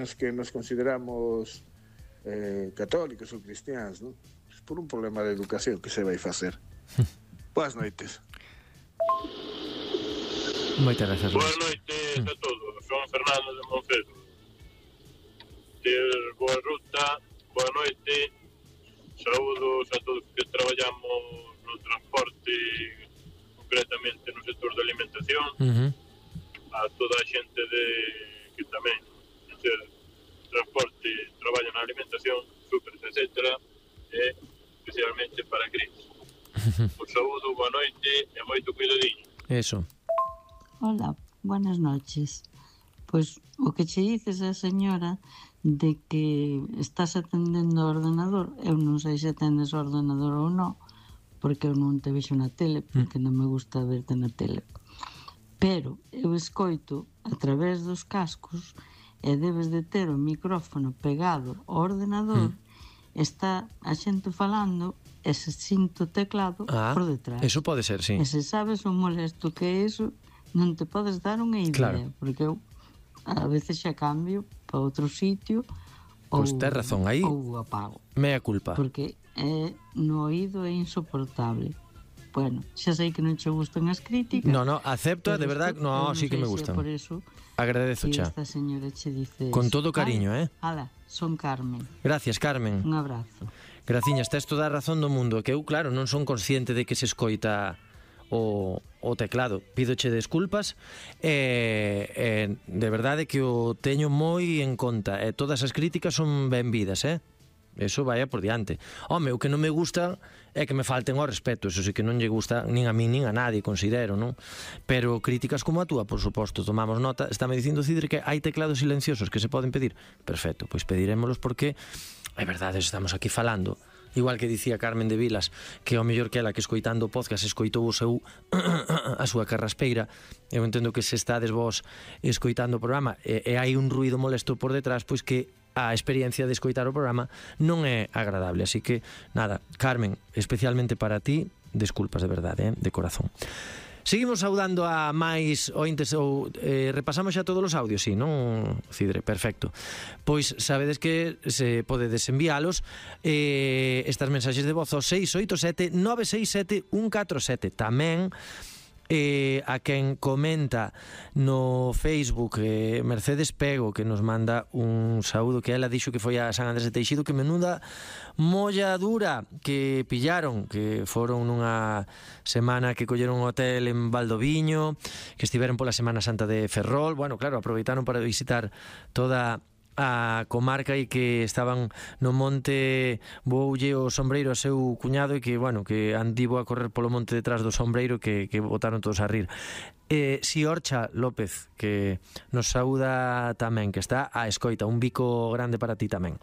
nas que nos consideramos católicos ou cristiáns, non? Por un problema de educación que se vai facer. Boas noites. Moitas gracias. Boas noites a todos. Son Fernando de Moncedo. Boa ruta, boa noite. Saúdos a todos que traballamos no transporte, concretamente no sector da alimentación. A toda a xente que tamén en transporte traballa na alimentación, supers, etc. E especialmente para Cris. Un saúdo, boa noite e moito cuidadiño. Eso. Hola, buenas noches. Pois o que che dices a señora de que estás atendendo ao ordenador, eu non sei se atendes ao ordenador ou non, porque eu non te vexo na tele, porque non me gusta verte na tele. Pero eu escoito a través dos cascos e debes de ter o micrófono pegado ao ordenador, está a xente falando e se sinto teclado por detrás. Eso pode ser, sí. E se sabes o molesto que é iso, non te podes dar unha idea, porque eu a veces xa cambio para outro sitio Pois tes razón, aí ou apago. Mea culpa. Porque no oído é insoportable. Bueno, xa sei que non che gustan as críticas. No, acepto, de verdad, sí que me gustan. Por eso agradezo xa. Esta señora che dice con todo cariño, Ala, son Carmen. Gracias, Carmen. Un abrazo. Graciñas, tes toda a razón do mundo. Que eu, claro, non son consciente de que se escoita o teclado. Pídoche desculpas de verdade que o teño moi en conta e todas as críticas son benvidas, eso vaya por diante. Home, o que non me gusta é que me falten ao respeto, eso sí que non lle gusta nin a mí nin a nadie, considero, non? Pero críticas como a túa, por suposto, tomamos nota. Está me dicindo Cidre que hai teclados silenciosos que se poden pedir. Perfecto, pois pedirémolos porque é verdade, estamos aquí falando. Igual que dicía Carmen de Vilas, que ao mellor que ela que escoitando o podcast escoitou o seu a súa carraspeira. Eu entendo que se estades vos escoitando o programa e hai un ruido molesto por detrás, pois que a experiencia de escoitar o programa non é agradable. Así que, nada, Carmen, especialmente para ti, desculpas de verdade, de corazón. Seguimos saudando a máis ointes ou repasamos xa todos os audios, si, non, Cidre? Perfecto. Pois sabedes que se podedes enviálos estas mensaxes de voz ao 687 967 147. Tamén a quen comenta no Facebook, Mercedes Pego, que nos manda un saúdo, que ela dixo que foi a San Andrés de Teixido, que menuda molla dura que pillaron, que foron nunha semana que colleron un hotel en Valdoviño, que estiveron pola Semana Santa de Ferrol. Bueno, claro, aproveitaron para visitar toda a comarca e que estaban no monte. Voulle o sombreiro a seu cuñado e que, bueno, que andivo a correr polo monte detrás do sombreiro que botaron todos a rir. Siorcha López, que nos saúda tamén, que está a escoita. Un bico grande para ti tamén.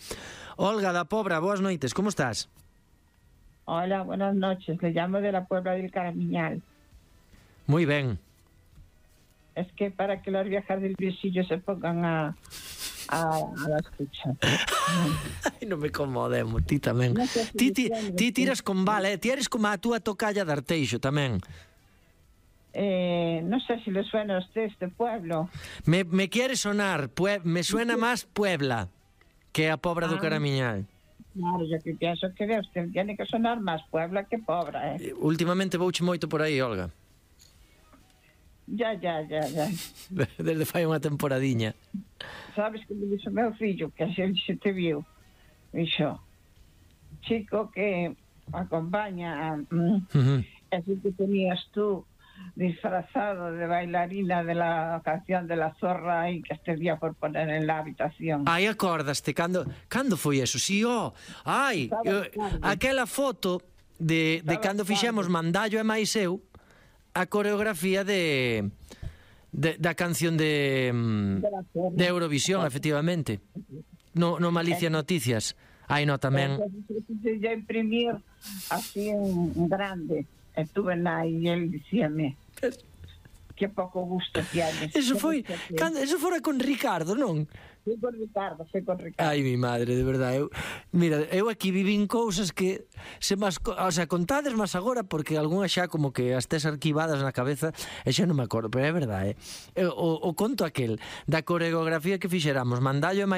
Olga da Pobra, boas noites, como estás? Hola, buenas noches, le llamo de la Puebla del Caramiñal. Muy ben. Es que para que los viajeros del visillo se pongan a la escucha. Ai, non me comodemos, ti tamén. No sé si ti tiras con bala, ti eres como a túa tocalla de Arteixo tamén. No sé si le suena a usted este pueblo. Me quiere sonar, me suena más Puebla que a Pobra do Caramiñal. Claro, yo que pienso que de usted tiene que sonar más Puebla que Pobra, Últimamente vouche moito por aí, Olga. Ya. Desde fai unha temporadiña. Sabes que me dixo meu fillo, que así se te viu. Dixo, chico que acompaña así que tenías tú disfrazado de bailarina de la canción de la zorra aí que este día por poner en la habitación. Ai, acordaste, cando foi eso? Si, aquela foto de cando fixemos Mandallo e máis eu, a coreografía da canción de Eurovisión, efectivamente. No Malicia Noticias. Ai, no, tamén. Ya imprimir así en grande. Estuve na e el dicíame que pouco gusto que hai. Eso fora con Ricardo, non? Foi con Ricardo. Ai, mi madre, de verdade. Eu aquí vivín cousas que contades máis agora, porque algunhas xa como que as tes arquivadas na cabeza e xa non me acordo, pero é verdade. O conto aquel da coreografía que fixéramos Mandallo e máis